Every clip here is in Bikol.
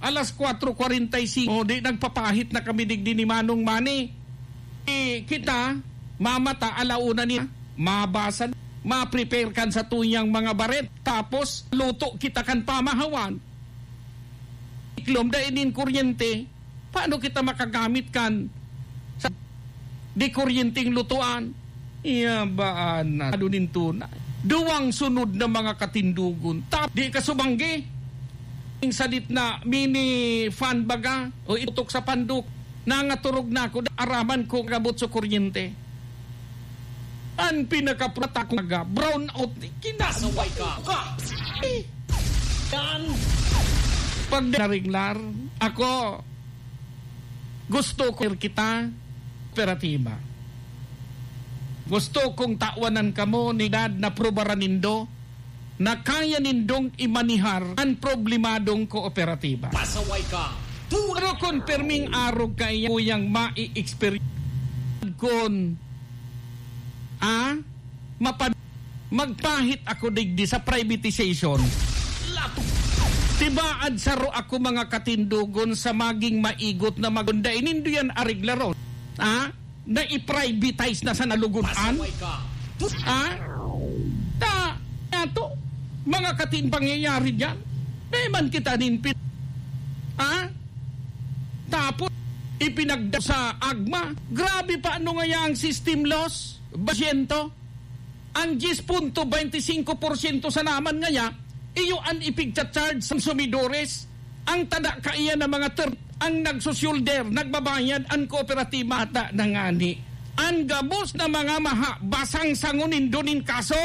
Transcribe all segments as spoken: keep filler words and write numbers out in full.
Alas kwatro kwarenta y singko, di nagpapahit na kami digdi ni Manong Manny. Eh, kita, mamata, ala una niya, mabasa, ma-prepare kan sa tuyang mga baret. Tapos, luto kita kan pamahawan. Iklom, dai nin kuryente. Paano kita makagamit kan sa di kuryenteng lutuan? Iya ba, anak? Ano nin tunay? Duwang sunod na mga katindogon. Tap, di ka subanggi. Ing sadit na mini fan baga o itutok sa pandok. Nangaturog na ako. Araman ko gabot sa kuryente. An pinakaprata ko nga brown out ni kinasaway ka. Ka! Eh! Yan! Pag nariglar, ako, gusto ko kita, kooperatiba. Gusto kong tawanan kamo ni Dad na prubaran nindo na kaya nindong imanihar an problemadong kooperatiba. Pasaway ka! Pero kun perming arog kaya kuyang mai-experience kun, ah, mapan-, magpahit ako digdi sa privatization. Tibaad saro ako, mga katindogon, sa maging maigot na magunda. Inindo yan areglaron. Ah? Na i-privatize na sa nalugudan? Pasaway ka. Ah? Ta, ato, mga katin pangyayari dyan. Dai man kita nin pin-, ah? Tapos, ipinagda sa agma. Grabe pa, ano ngaya ang system loss? Basyento. Ang diyes punto baynte singko porsyento sa naman ngaya, iyo an ipigcha-charge sa konsumidores. Ang tada kaiyan na mga ter-, ang nagsusyulder, nagbabayad, ang kooperatiba ata na ngani. Ang gabos na mga maha, basang sangon nindo nin kaso.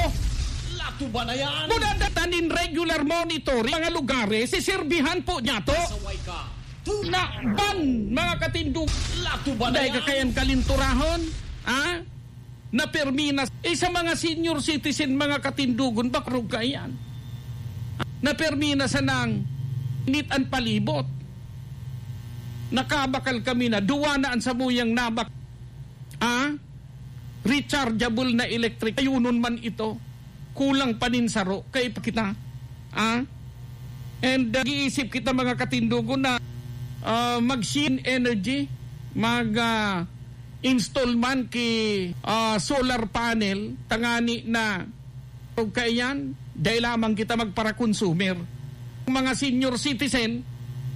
Latuba na yan! Muna data nin regular monitoring, mga lugares, siserbihan po niya to. Pasaway ka. Na ban, mga katindog. Latuba na yan! Dahil kakayan kalinturahon, ha? Na permi na, eh, sa mga senior citizen, mga katindogon, bakrog kaiyan. Na permi na sanang init an palibot. Nakabakal kami na, duwa na an samuyang nabak-, ah, rechargeable na electric. Ayunon man ito. Kulang pa nin saro. Kay pa kita. Ah? And, uh, nag-iisip kita, mga katindogon, na, uh, mag-share energy, mag, uh, install man ki, ah, solar panel, tangani na, o kaiyan, dai lamang kita magpara-consumer. Mga senior citizen,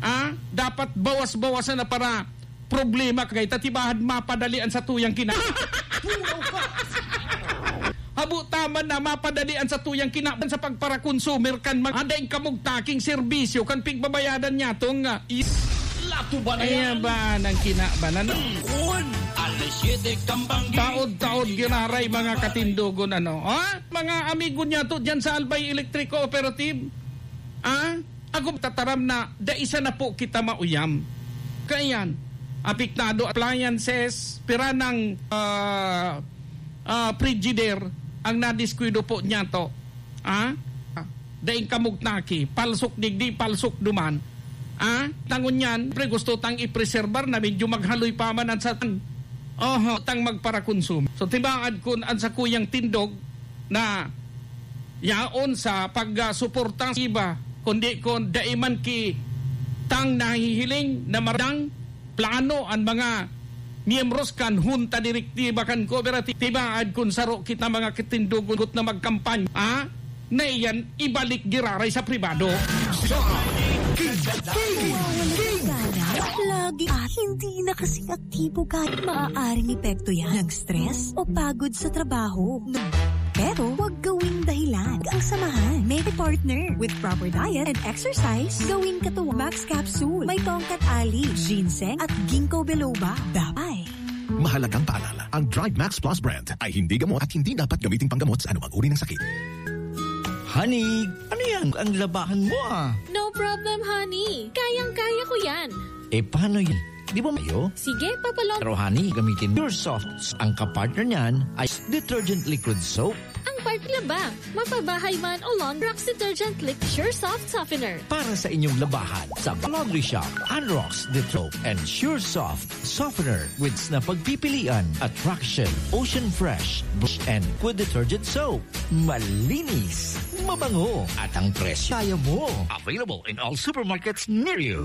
ah, dapat bawas-bawasan na para problema kay tatibahan mapadali an satuyang kina-, Pulaw ka! Habo taman na mapadali an satuyang kinaban sa pagpara-consumer kan mga daing kamugtaking serbisyo kan pigbabayadan niya tong, ah, is-, Latuba na Ayan yan! Ba nang kinaban, ano? Alas siyete kambang. Taod-taod giraray, mga katindogon, ano? Ha? Mga amigo niya to dyan sa Albay Electric Cooperative. Ah? Ako tataram na dai sana po kita mauyam. Kaiyan, apektado appliances, pira nang, ah, ah, Frigidaire ang nadiskuido po niya to. Ah? Daing kamugtaki, palsok digdi, palsok duman. Ah? Tangon niyan, pre, gusto tang ipreserbar na medyo maghaloy pa man ang satan. Oho, tang magparakonsumo. So, tibaad kun ang sakuyang tindog na yaon sa pagsuporta sa iba, kundi kun dai man ki tang nahihiling na mardang plano an mga miyembros kan hunta direktiba kan kooperatiba, tibaad kun saro kita mga katindogon na magkampanya, ah, na iyan ibalik giraray sa pribado. Sa King King King Lagi at hindi na kasi aktibo kahit maaaring epekto yan ng stress o pagod sa trabaho. Pero huwag gawing dahilan ang samahan. May partner. With proper diet and exercise, gawing katuwang Max Capsule. May tongkat ali, ginseng at ginkgo biloba. Dapat. Mahalagang paalala, ang Drive Max Plus brand ay hindi gamot at hindi dapat gamiting panggamot sa anumang uri ng sakit. Honey, ano yan? Ang labahan mo, ah. No problem, honey. Kayang-kaya ko yan. Eh, paano yun? Di ba mayo? Sige, papalong. Pero, honey, gamitin Pure Soft. Ang kapartner niyan ay detergent liquid soap. Ang part laba, mapabahay man o laundry, Rox Detergent Liquid Pure Soft Softener. Para sa inyong labahan, sa laundry shop, Anrox Detergent and Sure Soft Softener with na pagpipilian, Attraction, Ocean Fresh, Bush and Liquid Detergent Soap. Malinis, mabango, at ang presyo kaya mo. Available in all supermarkets near you.